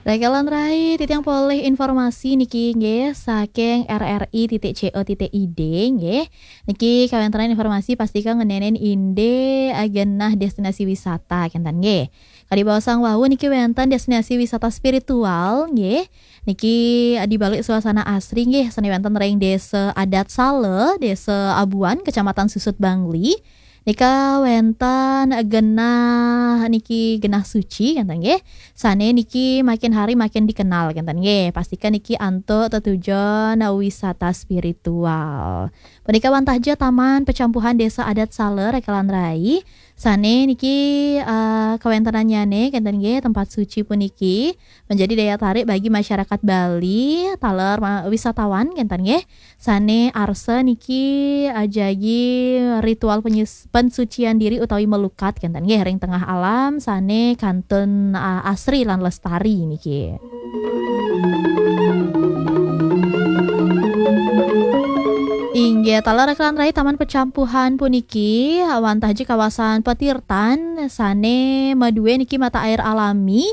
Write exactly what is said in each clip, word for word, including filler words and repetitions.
Rekan lan rai, titiang polih informasi niki nggih saking R R I titik C O titik I D nggih. Niki kawéntenan informasi pastika ngeninin indik genah destinasi wisata kénten nggih. Kadi baosang wau niki wénten destinasi wisata spiritual nggih. Niki di balik suasana asri nggih, sané wénten ring Désa Adat Sala, Désa Abuan, Kecamatan Susut Bangli. Nika wénten genah niki genah suci kénten nggih. Sané niki makin hari makin dikenal kénten nggih. Pastika niki antuk tetujon wisata spiritual. Punika wantah ja Taman Pecampuhan Désa Adat Sala rekan lan rai. Sané niki eh, kawéntenannyané kénten nggih, tempat suci puniki menjadi daya tarik bagi masyarakat Bali, taler ma- wisatawan kénten nggih. Sané arsa niki eh, jagi ritual penyus- pensucian diri utawi melukat kénten nggih ring tengah alam sané kantun eh, asri lan lestari niki. Inggih, taler rekan rai, Taman Pecampuhan puniki wantah ja kawasan petirtan sané madué niki mata air alami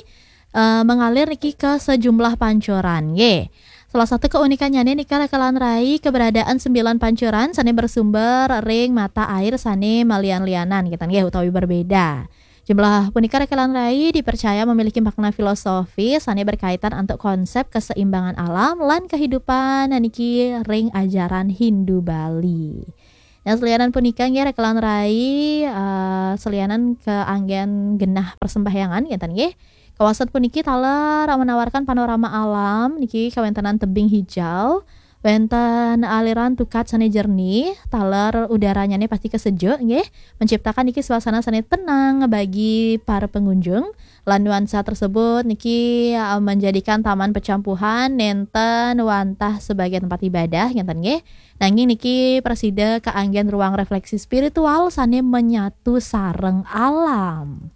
eh, mengalir niki ke sejumlah pancuran nggih. Salah satu keunikannya nika rekan lan rai, keberadaan sembilan pancuran sané bersumber ring mata air sané malian-lianan kénten nggih utawi berbeda. Jumlah punika rekan lan rai dipercaya memiliki makna filosofis sané berkaitan antuk konsep keseimbangan alam lan kehidupan niki ring ajaran Hindu Bali. Nah, selianan punika nggih rekan lan rai, eh, selianan kaanggén genah persembahyangan kénten nggih. Kawasan puniki taler menawarkan panorama alam niki kawéntenan tebing hijau, wénten aliran tukat sané jernih, taler udarannyané pastika sejuk nggih, menciptakan niki suasana sané tenang bagi para pengunjung. Lan nuansa tersebut niki eh, menjadikan Taman Pecampuhan nénten wantah sebagai tempat ibadah kénten nggih. Nanging niki prasida kaanggén ruang refleksi spiritual sané menyatu sareng alam.